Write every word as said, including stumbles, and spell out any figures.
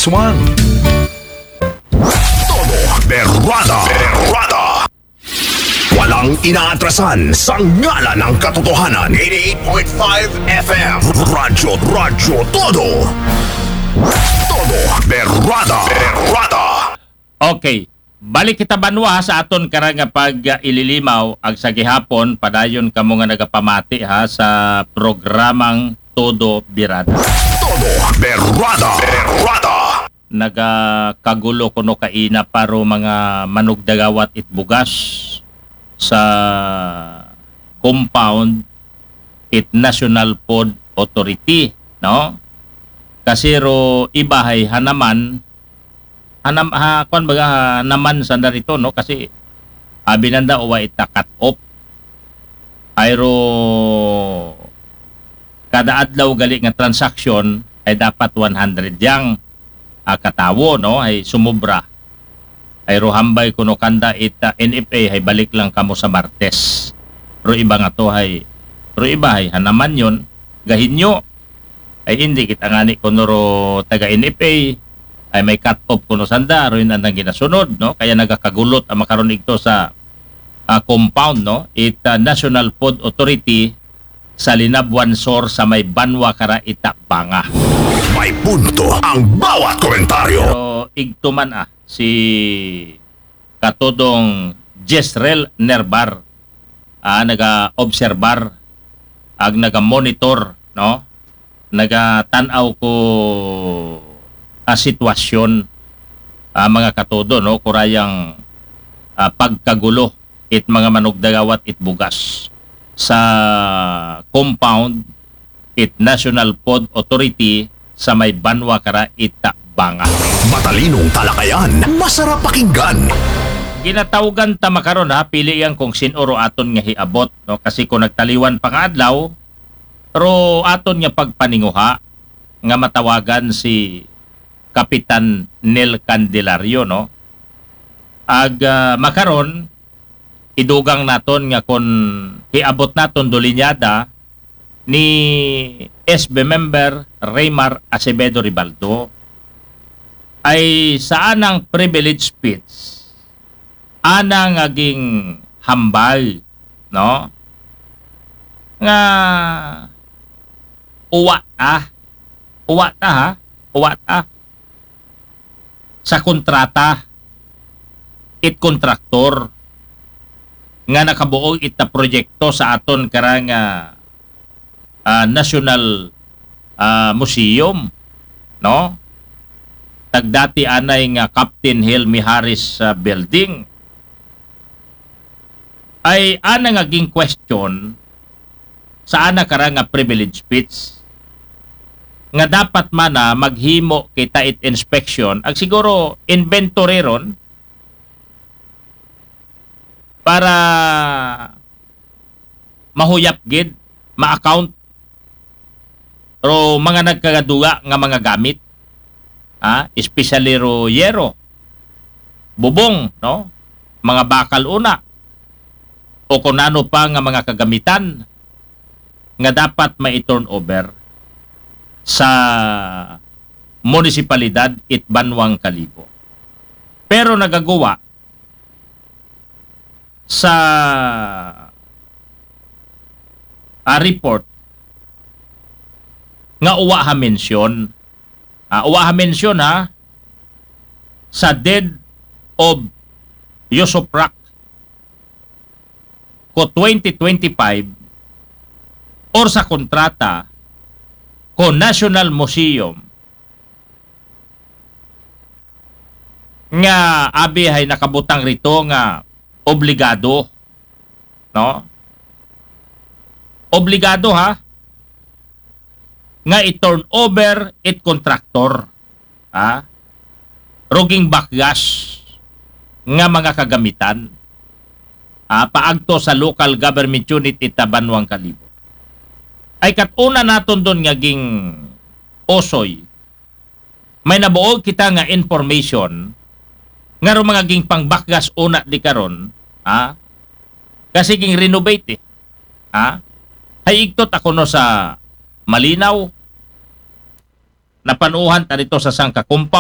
Swan. Todo Berrada. Berrada. Walang inaatrasan sa ngalan ng katotohanan. Eighty-eight point five F M. Radyo, Radyo Todo. Todo Berrada. Berrada. Okay. Balik kita banwa ha, sa aton karang nga pag-ililimaw ag sa gihapon padayon kamo nga nagapamati ha sa programang Todo Birada. Todo Berrada. Berrada. Nagakagulo kuno kaina pa ro mga manugdagawat it bugas sa compound it National Food Authority, no? Kasi ro iba hay hanaman, hanam, ha, kwan baga, hanaman sanda rito, no? Kasi abi nanda uwa ita cut off. Ay ro kada adlaw gali nga transaction ay dapat one hundred yang ah, katawo, no? Ay sumubra. Ay ro hambay kuno kanda ita N F A ay balik lang kamo sa Martes. Ro iba nga to ay ro iba ay hanaman yon gahinyo. Ay hindi kita ngani kuno ro taga N F A ay may cut off kuno sanda ro yun andang ginasunod, no? Kaya nagakagulot ang makaron igto sa ah, compound, no? Ita National Food Authority sa Linabuan Sur sa may Banwa kara ita Banga. May punto ang bawat komentaryo. Pero igtuman ah si katudong Jezreel Nerbar, ah, naga-obserbar ag naga-monitor, no? Nagatan-aw ko ah, sitwasyon, ah, mga katudo, no? Kurayang ah, pagkagulo it mga manugdagawat it bugas sa compound it National Food Authority sa may Banwa kara ita Banga. Matalinong talakayan, masarap pakinggan. Ginatawgan ta makaron ha, pili yan kung sin-o ro aton nga hiabot, no? Kasi kung nagtaliwan pa nga adlaw, ro aton nga pagpaninguha nga matawagan si Kapitan Nel Candelario, no? Ag ah, makaron, idugang naton nga kon hiabot naton do linyada ni S B member Raymar Acevedo Ribaldo. Ay sa anang privilege speech, ana nga ginhambal, no? Nga uwa ta, uwa ta ha, uwa ta sa kontrata it kontraktor nga nakabuog ita proyekto sa aton karang ah, ah, National ah, Museum, no? Tagdati anay nga Captain Hill Mijares ah, Building. Ay ana nga ging-question sa ana kara nga privilege speech nga dapat man na maghimo kita it inspection ag siguro inventory ron para mahuyap gid, ma-account ro mga nagkagaduga nga mga gamit, ha? Especially ro yero, bubong, no? Mga bakal una o kung ano pa nga mga kagamitan nga dapat mai-turnover sa munisipalidad it Banwang Kalibo. Pero nagaguwa sa ah, report nga uwa ha mention. Ah, uwa ha mention ha sa deed of usufruct ko twenty twenty-five or sa kontrata ko National Museum nga abi hay nakabutang rito nga obligado, no? Obligado ha nga i-turn over it contractor, ha? Ruging bakgas nga mga kagamitan, ha? Paagto sa local government unit ita Banwang Kalibo. Ay katuna naton don nga ging usoy may nabuog kita nga information nga ro mga gingpangbakgas una di karon, ha? Kasi ging renovate eh. Ha? Hay igtot ako no sa Malinaw. Napanuhan ta dito sa sangka compound.